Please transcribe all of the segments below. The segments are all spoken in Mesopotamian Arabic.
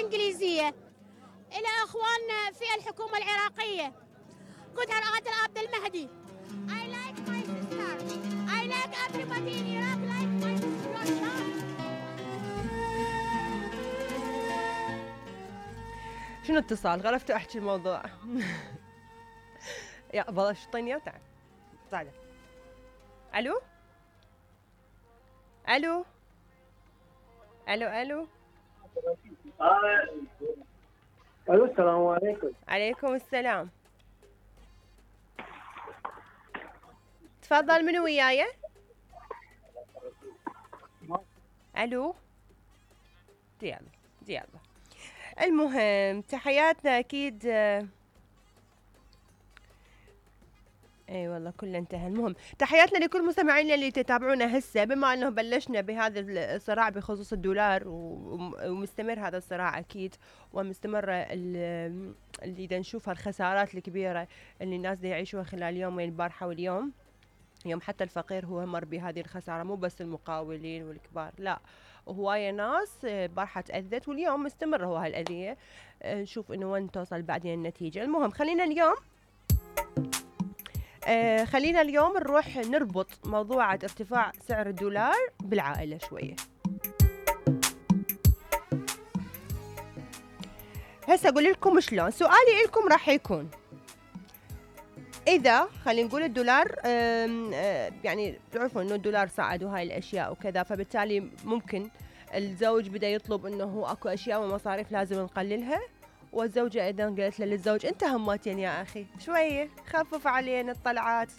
الإنجليزية. إلى أخواننا في الحكومة العراقية قلت عبد المهدي I like my sister. I like everybody in Iraq like my sister. شنو اتصال؟ غرفت احكي الموضوع. يا بلاش طيني تعال. تعال. الو؟ الو؟ الو الو؟ الو السلام عليكم. عليكم السلام. تفضل من وياي؟ الو؟ يلا. المهم تحياتنا اكيد. اي والله كله انتهى. المهم تحياتنا لكل مستمعينا اللي تتابعونا هسه، بما انه بلشنا بهذا الصراع بخصوص الدولار ومستمر هذا الصراع اكيد، ومستمره اللي نشوفها الخسارات الكبيره اللي الناس دي يعيشوها خلال يومين البارحه واليوم. يوم حتى الفقير هو مر بهذه الخساره، مو بس المقاولين والكبار، لا هواية ناس بارحة تأذت، واليوم مستمر هو هالأذية. نشوف انه وين توصل بعدين النتيجة. المهم خلينا اليوم نروح نربط موضوعة ارتفاع سعر الدولار بالعائلة شوية. هسه اقول لكم شلون. سؤالي لكم راح يكون إذا خلينا نقول الدولار يعني تعرفون إنه الدولار صعد وهاي الأشياء وكذا، فبالتالي ممكن الزوج بدأ يطلب إنه أكو أشياء ومصاريف لازم نقللها، والزوجة أيضا قالت له للزوج أنت هماتين يا أخي شوية خفف علينا الطلعات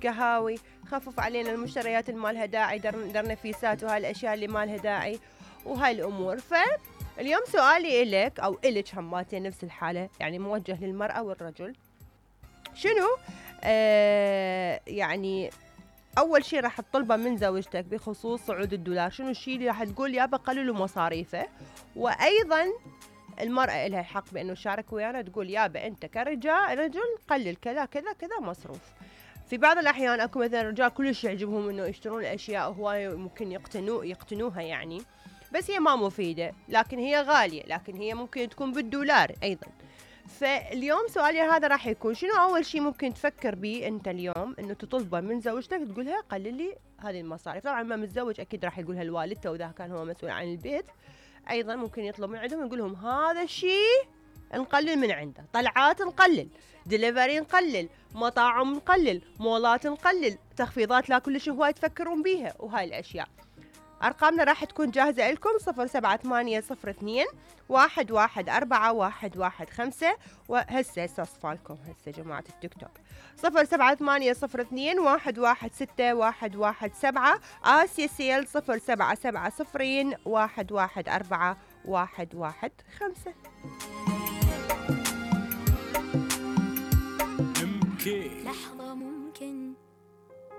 قهاوي، خفف علينا المشتريات اللي مالها داعي، درنفيسات وهاي الأشياء اللي مالها داعي وهاي الأمور. فاليوم سؤالي إلك أو إلك هماتين نفس الحالة، يعني موجه للمرأة والرجل. شنو يعني اول شيء راح تطلبه من زوجتك بخصوص صعود الدولار؟ شنو الشيء اللي راح تقول يابا قللوا مصاريفه؟ وايضا المرأة لها الحق بانه تشارك ويانا تقول يابا انت رجل قلل كذا كذا كذا مصروف. في بعض الاحيان اكو مثلا رجال كلش يعجبهم انه يشترون الاشياء وهواي ممكن يقتنوها يعني، بس هي ما مفيدة، لكن هي غالية، لكن هي ممكن تكون بالدولار ايضا. فاليوم سؤالي هذا راح يكون شنو أول شيء ممكن تفكر به أنت اليوم إنه تطلبه من زوجتك تقولها قلل لي هذه المصاريف؟ طبعا ما متزوج أكيد راح يقولها لوالدته وإذا كان هو مسؤول عن البيت، أيضا ممكن يطلب من عندهم يقول لهم هذا الشيء نقلل من عنده، طلعات نقلل، ديليفري نقلل، مطاعم نقلل، مولات نقلل، تخفيضات لا كل شيء هواي تفكرون بيها وهاي الأشياء. أرقامنا راح تكون جاهزة لكم 078002114115 وهسه صفالكم هسه جماعة التيك توك 078021161117 آسيا سيل 0770114115.